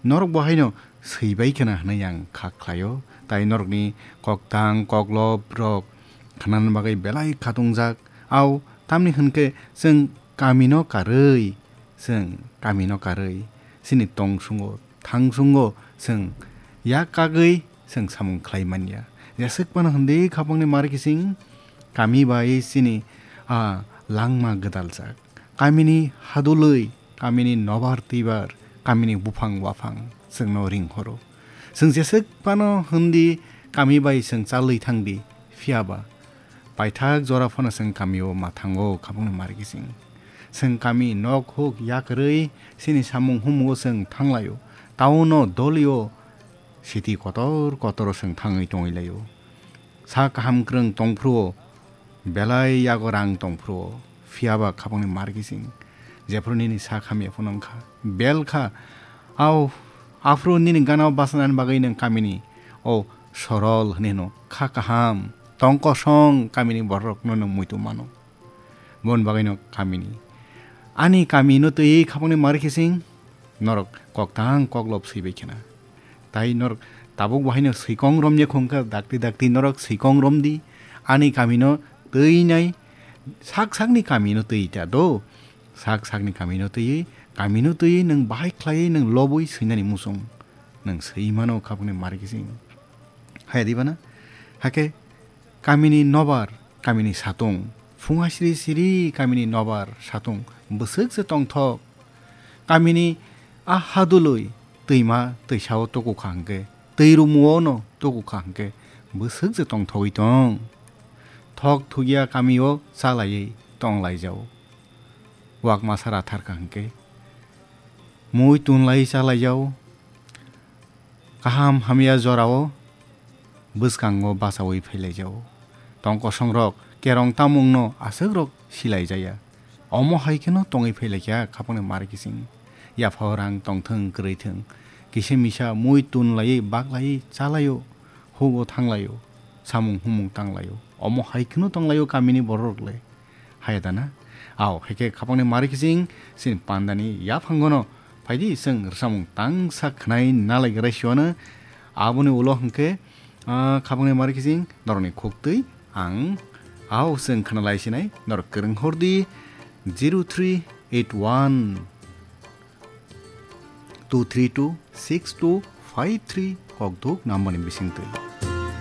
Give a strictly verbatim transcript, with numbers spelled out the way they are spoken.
Norok bo haino swibai khna hwnwi ang kha khlaio, tai norokni koktang koklop rok khnana bagwi belai khatungjak. Au tamni hwnkhe chwng kamino karwi, chwng kamino karwi chini tongsungo thangsungo chwng yak kagwi chwng samung khlai manya. Jeswk phano hwndwi khapangni mar kising kami bai chini a langma gwdaljak. Kamini hadulwi, kamini nobar twibar, kamini buphang waphang chwngno ringhoro. Chwng jeswk phano hwndi kami bai chwng chalwi thangdi, phiyaba paithak jora phano chwng kamio ma thango khapangni mar kising. Chwng kami nok huk yakarwi chini samung humungo chwng thanglaio. Tauno dolio siti kotor kotoro chwng thangwi tongwi laio. Sa kaham kwrwng tongphruo, belai yago rang tongphruo, phiyaba khapangni mar kising. Jephru nini sak hamya phano wngkha, bel kha, au, aphuru nini ganao bachanani bagwi nwng kamini o sorol hwnwi hwno kha kaham, tong kosong kamini bororokno nwng muitu mano. Bon bagwino kamini. Ani kamino twiwi khapangni mar kising norok koktang koklop swibai khna. Tai norok tabuk bahaino swikong romya khungkha, dakti dakti norok swikong romdi. Ani kamino twinai sak sakni kamino twi ta do. Sak sakni kamino twiwi, kamino twiwi nwng bahai khlaiwi nwng lobwi swinani muchung. Nwng swi mano khapangni mar kising. Haya di bana? Hakhe kamini nobar, kamini satung, phunga siri siri kamini nobar, satung, bwswk se tongthok. Kamini a hadulwi twima twisao tukukha hwnkhe, twi rumuono tukukha hwnkhe, bwswk se tongthogwi tong. Thok thugya kamio chalaiwi tonglaijao. Wak masa ratharkha hwnkhe, mui tunlai chalaijao. Kaham hamya jorao bwskango bachaui phailaijao. Tong kosongrok kerong tamungno aswkrok silaijaya. Omo hai kheno tongwi phailaikha khapangni mar kising. Yaphao rang tongthwng kwrwithwng, kisa misa mui tunlaiwi baklaiwi chalaio, hugo thanglaio, samung humung tanglaio. Omo hai kheno tonglaio kamini bororok le. Haya dana? Ao, hai khe khapangni mar kising, chini pandani yaphangono phaidi chwng rwchapmung tangsa khwnai nalai grai siwano. Aboni ulo hwnkhe, ah, khapangni mar kising, norokni khuktwi ang ao chwng khwnalai sinai, norok kwrwng hordi zero three eight one two three two six two five three kokduk number ni bisingtwi.